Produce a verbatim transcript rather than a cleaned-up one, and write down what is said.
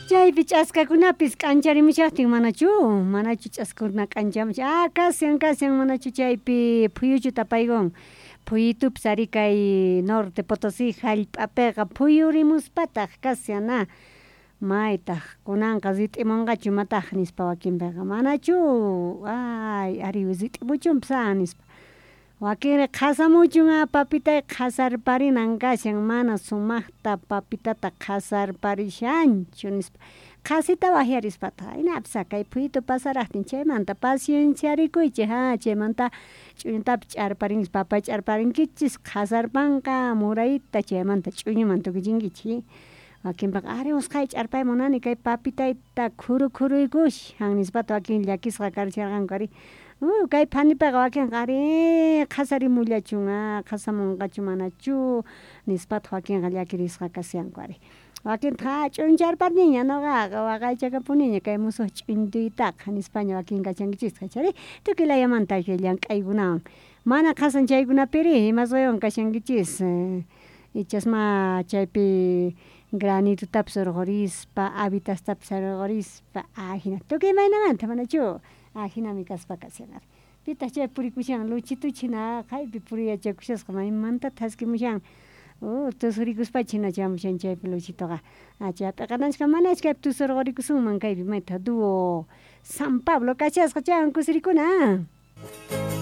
Chaypi ch'askakunapis k'ancharimushaqtin manachu manachu ch'askakuna k'anchamushan ah kashan kashan manachu chaypi phuyuchu tapaykun phuyitupis ari kay Norte Potosí hallp'apiqa phuyurimuspataq kashan a maytaq kunanqa rit'imunqachu imataq nispa wakinpiqa manachu ay ari rit'imuchunpis a nispa wakinri qhasamuchun a papitay qhasarparinan kashan mana sumaqta papitata qhasarparishanchu nispa qhasita waqyarispataq aynapis kay phuyitu pasaraqtin chaymanta pacienciarikuychik a chaymanta ch'uñutapis ch'arparinkichis papa ch'arparinkichis qhasarpanqa murayta chaymanta ch'uñuman tukuchinkichik wakinpiqa ari usqhayta ch'arpay munani kay papitayta khuru khuruykushan nispataq wakin llakisqa karisharqanku ari uh kay phanipiqa wakinqa ari qhasarimullachun a qhasamunqachu manachu nispataq wakinqa llakirisqa kashanku ari wakintaq a ch'uncharpaniña nuqaqa waqaychakapuniña kay musuq ch'untuytaqa nispaña wakin kashankichisqa ichari tukuy layamanta kay llank'aykunawan mana qhasan chaykunapiri ima ruwaywan kashankichis ichasma chaypi granitutapis urqurispa habitastapis urqurispa ajina tukuy imaynamanta manachu ajinami kaspa kashan ari pitaq chay purikushan luchituchhina jaqaypi puriyachakushasqa maymanta thaskimushan uh tusurikuspacha hina chamushan chaypi luchituqa chaypiqa manachu kaypi tusurqurikusunman kaypi maytaq dúo San Pablo kashasqa chaywan kusirikuna.